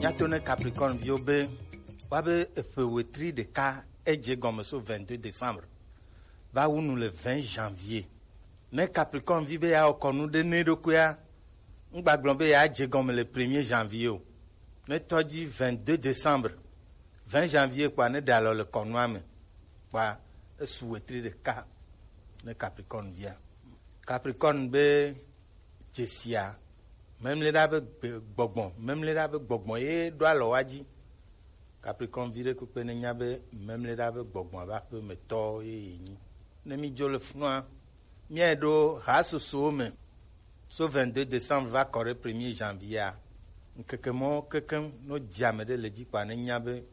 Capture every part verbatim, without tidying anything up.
Míato ne Capricorne viwo be woabe eƒe wetri ɖeka edze gɔme so vingt-deux décembre va wu nu le vingt janvier. Ne Capricorne vi be yeawɔ kɔnu ɖe ne ɖokuia, ŋgbagblɔ be yeadze gɔme le premier janvier o. Ne tɔ dzi vingt-deux décembre, vingt janvier kpɔa ne ɖe alɔ le kɔnua me kpɔa esu wetri ɖeka ne Capricorne via. Capricorne be dzesia, memleɖa be gbe-, gbɔgbɔ, memleɖa be gbɔgbɔ ye ɖo alɔ wa dzi. Capricorne vi ɖe kpekpe ne nya be memleɖa be gbɔgbɔ ava ƒe me tɔ ye ye nyi. Ne mi dzo le funua, míae ɖo hasosowo me. So vingt-deux décembre va kɔ ɖe premier janvier a, ŋkeke mɔ kekeŋ no dzi ame ɖe le dzi kpa ne nya be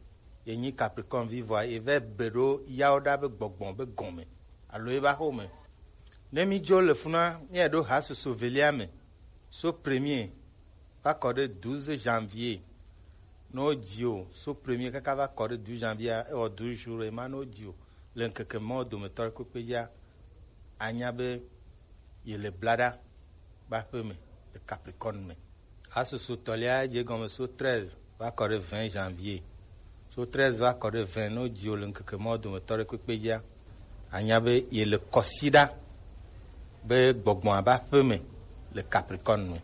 ye nyi Capricorne vi vɔa ye vɛ be ɖo yawo ɖa be gbɔgbɔ be gɔme alo ye va xo me. Ne mi dzo le funua, míae ɖo hasoso velia me. So premier va kɔ ɖe douze janvier. Ne wodzi o, so premier kaka va kɔ ɖe douze janvier, ewɔ douze jours ema ne wodzi o. Le ŋkeke mawo dometɔ ɖe kpekpe dzia, anya be ye le blaɖa be aƒe me le Capricorne me. Hasoso tɔlia dze gɔme so treize va kɔ ɖe vingt janvier. So treize va kɔ ɖe vingt, ne wodzi o le ŋkeke mawo dometɔ ɖe kpekpe dzia, anya be ye le kɔsiɖa be gbɔgbɔ ava ƒe me le Capricorne me.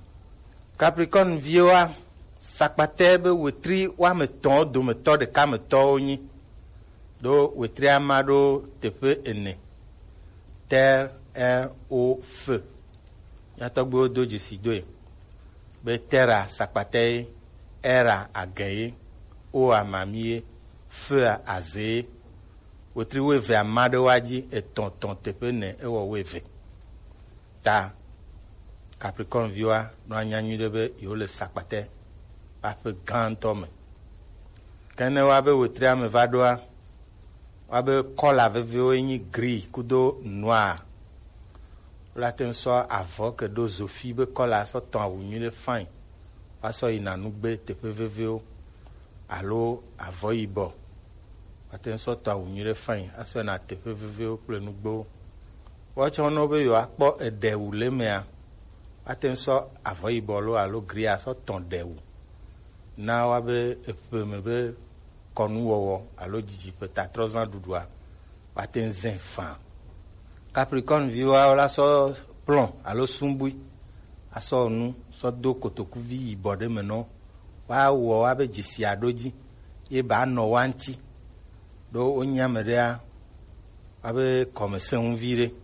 Capricorne viwoa, sakpatɛ be wetri woame etɔ̃ dometɔ ɖeka me tɔwo nyi. Ɖo wetria ma ɖo teƒe ene. Terre, air, eau, feu. Mía tɔgbuiwo do dzesi doe be terre sakpatɛ ye, air agɛ ye, eau mamie ye, feu azee ye. Wetri wuievea ma ɖe woa dzi etɔ̃ tɔ̃ teƒe ene ewɔ wuieve. Ta Capricorne viwoa nɔ anya nyuiɖe be yewo le sakpatɛ ƒe aƒe gãtɔ me. Ke ne woabe wetria me va ɖoa, woabe kɔla veviwo ye nyi gris kudo noir. Wole ate ŋu sɔ avɔ ke ɖo zofi be kɔla sɔ tɔn awu nyuiɖe fine, woasɔ yina nugbe teƒe veviwo, alo avɔ yibɔ. Woate ŋu sɔ tɔn awu nyuiɖe fine asɔ yina teƒe veviwo kple nugbewo. Woatsɔ ne wo be yewoakpɔ eɖe wu le emea, woate ŋu sɔ avɔ yibɔ lo alo gria sɔ tɔn ɖe wu. Na woabe eƒe me be kɔnuwɔwɔ alo didiƒe tatrɔzãɖuɖua woate ŋu zã faa. Capricorne viwoa, wola sɔ plɔn alo sumbui asɔ nu sɔ do kotokuvi yibɔ ɖe me nɔ. Woawɔ woabe dzesia ɖo dzi ye ba nɔ woa ŋuti. Ɖo wonye ame ɖea, woabe kɔme sẽ ŋu vi ɖe.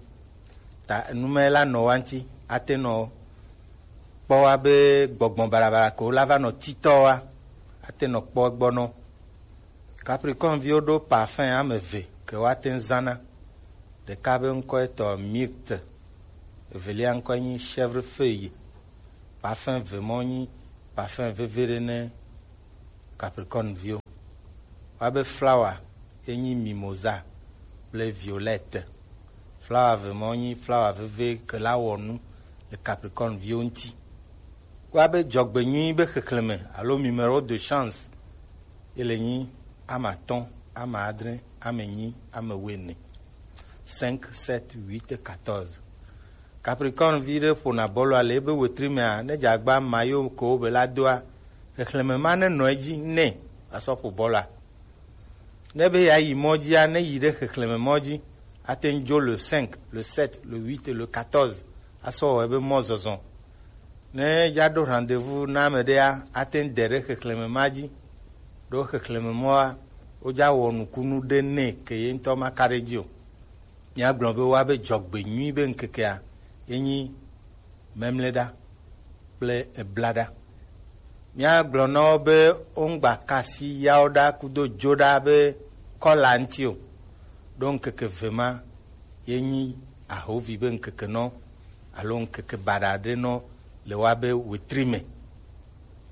Ta enumɛ la nɔ woa ŋuti, ate nɔ kpɔ woabe gbɔgbɔ baɖabaɖa ko la va nɔ titɔ wa, ate nɔ kpɔ egbɔ nɔ. Capricorne viwo ɖo parfum ame eve ke woate ŋu zãna. Ɖeka be ŋkɔe tɔ myrte, evelia ŋkɔe nyi chèvrefeuille. Parfum eve mɔ nyi parfum veve ɖe ne Capricorne viwo. Woabe flower ye nyi mimosa kple violette. Flower eve mɔ nyi flower veve ke la wɔ nu le Capricorne viwo ŋuti. Woabe dzɔgbenyui be xexlẽme alo numéro de chance ye le nyi ame atɔ̃, ame adre, ame enyi, ame wuiene. Cinq, sept, huit, quatorze. Capricorne vi ɖe ƒona bɔlua le ebe wetri mea, ne dze agba mayo ko be la doa, xexlẽme ma ne nɔ edzi nɛ asɔ ƒo bɔlua. Ne be yeayi mɔ dzia, ne yi ɖe xexlẽme mɔ dzi, ate ŋu dzo le cinq, le sept, le huit, le quatorze asɔ wɔ ebe mɔzɔzɔ. Ne dza ɖo rendez-vous na ame ɖea, ate ŋu de ɖe xexlẽme ma dzi. Ɖo xexlẽme mɔa, wodza wɔ nukunu ɖe nɛ ke ye ŋutɔ ma ka ɖe dzi o. Míagblɔ be woabe dzɔgbe nyui be ŋkekea ye nyi memleɖa kple eblaɖa. Míagblɔ na wo be woŋgba kasi yawo ɖa kudo dzo ɖa be kɔla ŋuti o. Ɖo ŋkeke eve ma ye nyi ahovi be ŋkeke nɔ alo ŋkeke baɖa ɖe nɔ le woabe wetri me.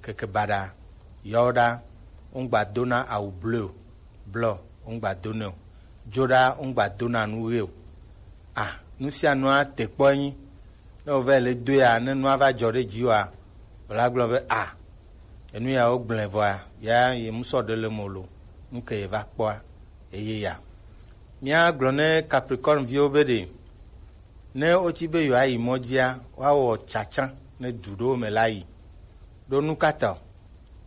Ŋkeke baɖa yawo ɖa woŋgba dona awu bleu o, blɔ woŋgba donɛ o, dzo ɖa woŋgba dona nu ɣi o. A, nu sia nua te kpɔ enyi. Ne wòva le doea, ne nua va dzɔ ɖe dziwòa, wòla gblɔ be, a, enu ya wogblẽ vɔa, ya ye mu sɔ ɖe le mo lo, nu ke ye va kpɔa, eye ya. Míagblɔ ne Capricorne viwo be ɖe, ne wotsi be yewoayi mɔ dzia, woawɔ tsatsa ne du ɖewo me la yi. Ɖo nu ka ta o?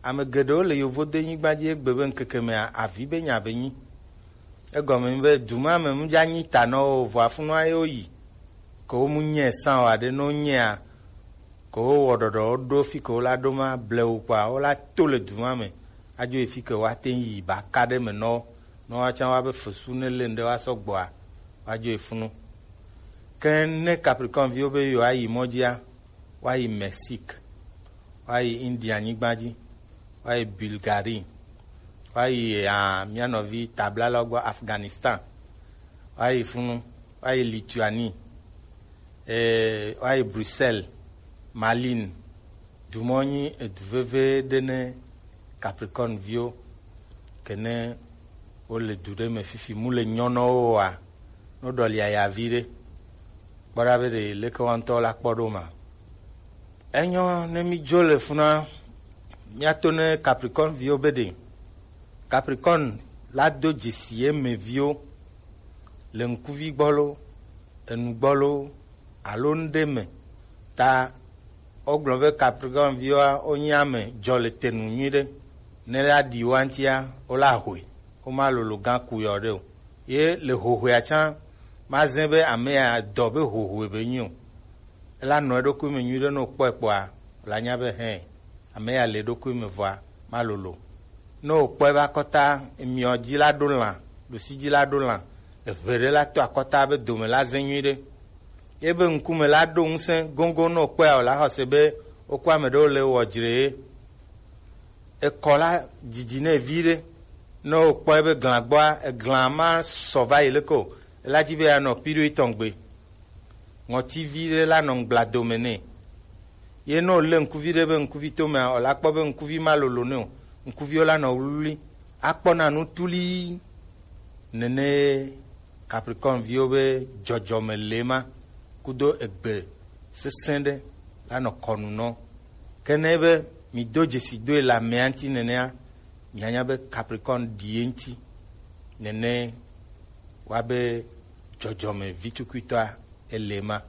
Ame geɖewo le yovodenyigba dzi egbe be ŋkeke mea avi be nya be nyi. Egɔme nyi be du ma me mu dza nyi ta nɔ o, vɔa funua ye woyi. Ke wo mu nyɛ san o aɖe, ne wonyɛa, ke wowɔ ɖɔɖɔ woɖo fi ke wola ɖo ma blewu kpoa wola to le du ma me adzo yi fi ke woate ŋu yi ba ka ɖe me nɔ wo. Ne woatsã woabe fesu ne le ŋɖe woasɔ gbɔa, woadzo yi funu. Ke ne Capricorne viwo be yewoayi mɔ dzia, woayi Mexique, woayi India nyigba dzi, woayi Bulgarie, woayi ah, mía nɔvi tablalawo gbɔ Afghanistan, woayi funu, woayi Lituanie, eh, woayi Bruxelles, Malines. Dumɔ nyi edu veve ɖe ne Capricorne viwo. Ke ne wole du ɖe me fifi mu le nyɔnɔwo oa, no ɖɔli aya vi ɖe. Kpɔ ɖa be ɖe leke woa ŋutɔ la kpɔ ɖo ma. Enyɔ ne mi dzo le funa, miato ne Capricorne viwo be ɖe Capricorne la do dzesi ye me viwo le ŋkuvi gbɔ lo, enu gbɔ lo, alo ŋɖe me. Ta wogblɔ be Capricorne viwoa wonye ame dzɔ le te nu nyuiɖe. Ne la ɖi woa ŋutia, wola hoe, woma lolo gã ku yɔ ɖe o. Ye le hohoea tsã, mazẽ be ame ya dɔ be hohoe be nyi o. Ela nɔ eɖokui me nyuiɖe, ne wòkpɔe kpɔa, wòla nya be hɛn, ame ya le eɖokui me vɔa, malolo. Ne wòkpɔe be akɔta, emiɔ dzi la ɖo lã, ɖusi dzi la ɖo lã, eʋe ɖe la to akɔta be dome la zẽ nyuiɖe. Ye be ŋkume la ɖo ŋusẽ goŋgoŋ, ne wòkpɔe wòla xɔse be wokɔ ame ɖewo le wɔ dzre ye. Ekɔ la dzidzi nɛ viɖe. Ne wòkpɔe be glã gbɔa, eglã ma sɔ va yi leke o. Ela dzi be yeanɔ piɖo etɔ̃ gbe. Ŋɔti viɖe la nɔ ŋgbla dome nɛ. Ye ne wòlé ŋkuvi ɖe be ŋkuvi to mea, wòla kpɔ be ŋkuvi ma lolo nɛ o. Ŋkuviwo la nɔ wluwlui. Akpɔna nu tulii. Nene Capricorne viwo be dzɔdzɔme le ma kudo egbe sesẽ ɖe la nɔ kɔnu nɔ. Ke ne be mi do dzesi doe le amea ŋuti nenea, mianya be Capricorne ɖi ye ŋuti. Nene wa be dzɔdzɔme vitukuitɔa ele ma.